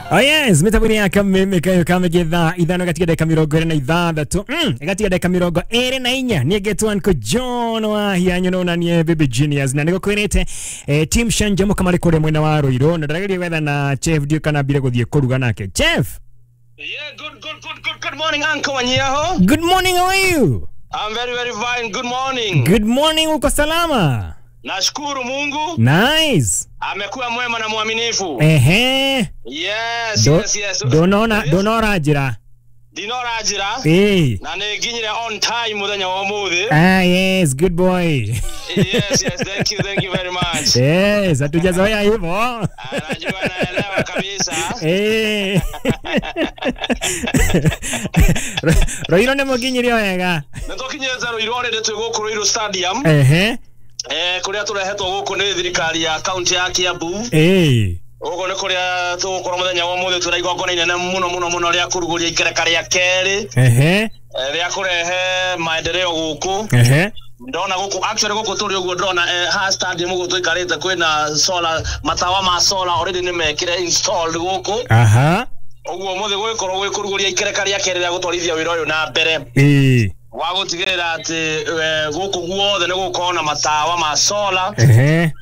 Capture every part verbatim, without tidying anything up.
Oh yes, mitambo ya kameme kayo kamegetha ithano gatiga dakika mirongo ĩrĩ na ithathatũ mm gatiga dakika mirongo ĩrĩ na inya niĩ Uncle John wa hianyo no na niĩ Baby Genius na nĩgũkwĩrĩte eh, team Shanjamo kamari kũrĩa mwena wa Ruiru na ndĩrageria gwetha na Chef ndio kana mbire gũthiĩ kũruga nake. Chef. Yeah, good good good good good morning, Uncle Wanyiaho. Good morning, how are you? I'm very very fine. Good morning. Good morning, uko salama? Nashukuru Mungu. Nice. Amekuwa mwema na mwaminifu. Ehe. Yes, Do, yes, yes. Donona donora jira. Dinora jira. Eh. Na nginyire on time muthenya wa umuthi. Ah yes, good boy. Yes, yes, thank you, thank you very much. Yes, hatujazoea hivyo. Najua naelewa kabisa. Eh. Roiro ne mukinyire wega. Nĩtũkinyĩte Ruiru already twĩ gũkũ Ruiru Stadium. Ehe. Eh, kuria turehetwo guku ni thirikari ya county ya Kiambu. Eh. Uguo ni kuria tugukorwo muthenya wa umuthi twina igongona inene muno muno muno ria kuruguria ikereka ria keri. Ehe. Ria kurehe maendeleo guku. Ehe. Ndona guku actually guku turi uguo ndona eh, ha stadium uguo tuikarite kwina solar matawa ma solar already ni mekire installed guku. Aha. Uguo umuthi gugikorwo gwikuruguria ikereka ria keri ria gutwarithia wira uyu na mbere. Eh. Wa gutigirira ati guku guothe ni gukorwo na matawa ma solar. Ehe.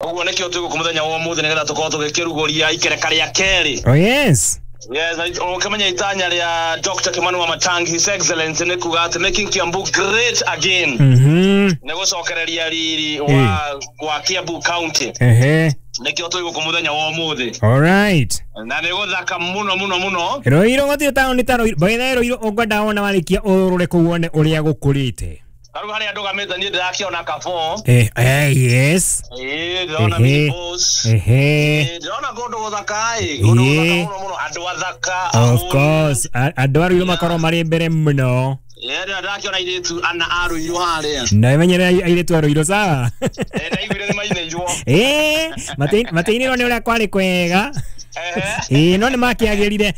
Uguo nikio twi guku muthenya wa umuthi nigetha tukorwo tugikiruguria ikereka ria keri. Oh yes. Yes, ukimenya itanya ria Doctor Kimani Wamatangi His Excellency ni kuga ati making Kiambu great again. Mhm. Ni gucokereria riri wa wa Kiambu County. Ehe. Nikio twi guku muthenya wa umuthi. All right. Na ni guthaka muno muno muno. Ruiru gutire taoni ta Ruiru. By the way, Ruiru ungwenda wona warikia urure kuu wone uria gukurite. Karu haria ndugamite nie ndirakiona Kafo. Eh, eh yes. Eh, ndĩrona minibus. Ehe. Ndĩrona kundu guthaka ĩ, kundu guthaka muno muno andu athaka. Of course, andu a Ruiru makorwo mari mbere muno. Eh, ndirakiona airitu ana a Ruiru haria. Na imenyere airitu a Ruiru sawa. Eh, ndaiguire ni mainĩirwo. Eh, mateinirwo ni uria kwari kwega. Eh, no ni makiagirire.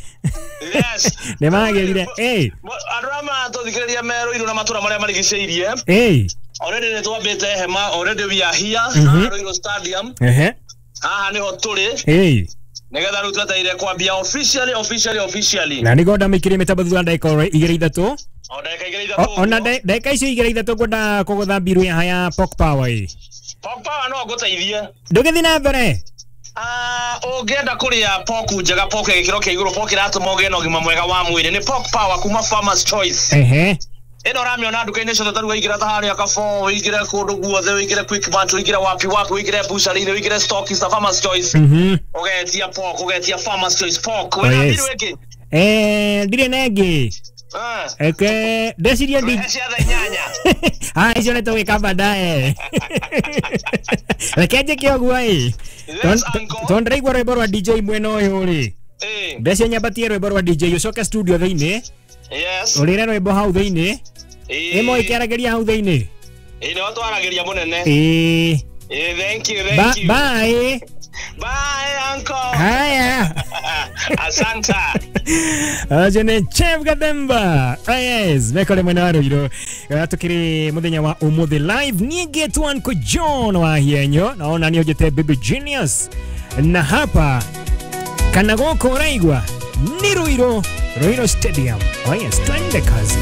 Yes. Ni magirire. Eh. Andu arĩa maratũthikĩrĩria me Ruiru na matũra marĩa marigicĩirie. Eh. Already nĩ twambĩte hema, already we are here Ruiru Stadium. Ehe. Haha niho tũrĩ. Eh. Nigetha rĩu twetereire kwambia officially officially officially. Na nĩngwenda mĩkĩrie mĩtambo thutha wa ndagĩka igĩrĩ ithatũ. O ndagĩka igĩrĩ ithatũ. Ona ndagĩka icio igĩrĩ ithatũ ngwenda kũgũtha mbiru ya haya Pork Power ĩ. Pork Power no ngũteithie. Ndũgĩthiĩ na mbere. Ah, ũngĩenda kũrĩa pork njega, pork ya gĩkĩro kĩa igũrũ, pork ĩratũma ũgĩe na ũgima mwega wa mwĩrĩ nĩ Pork Power kuma Farmers Choice. Ehe. Ĩno ũramĩona nduka-inĩ ciothe ta rĩu waingĩra ta harĩa Kafo, ũingĩre kũndũ guothe, ũingĩre Quickmart, ũingĩre wapi wapi, ũingĩre butchery-inĩ, ũingĩre stockist ta Farmers Choice. Mhm. Ũgetia pork, ũgetia Farmers Choice pork. Wĩna mbiru ĩngĩ? Eh, ndirĩ na ĩngĩ. Eke, ndeciria ndi cia thaa inyanya. Ah, icio nĩ tũgwĩka baadaye. Reke njĩke ũguo ĩ. Tondũ ndĩraigua rwĩmbo rwa D J mwena ũyũ rĩ. Ndecia nyambatie rwĩmbo rwa D J ũcoke studio thĩinĩ. Yes. Ũrĩre rwĩmbo hau thĩinĩ. Ĩmwe ĩkĩaragĩria hau thĩinĩ. Ĩ nĩho twaragĩria mũnene. Ĩ. Ĩ, thank you, thank you. Bye. Bye, uncle. Haya. Asante. Acio nĩ Chef Gathemba. Yes, mekore mwena wa Ruiru. Tukiri muthenya wa umuthi live niĩ ngetwo Uncle John wa Hienyo naona niĩ njĩte Baby Genius na hapa kana gũkũ ũraigua ni Ruiru, Ruiru Stadium. Oh yes, twende kazi.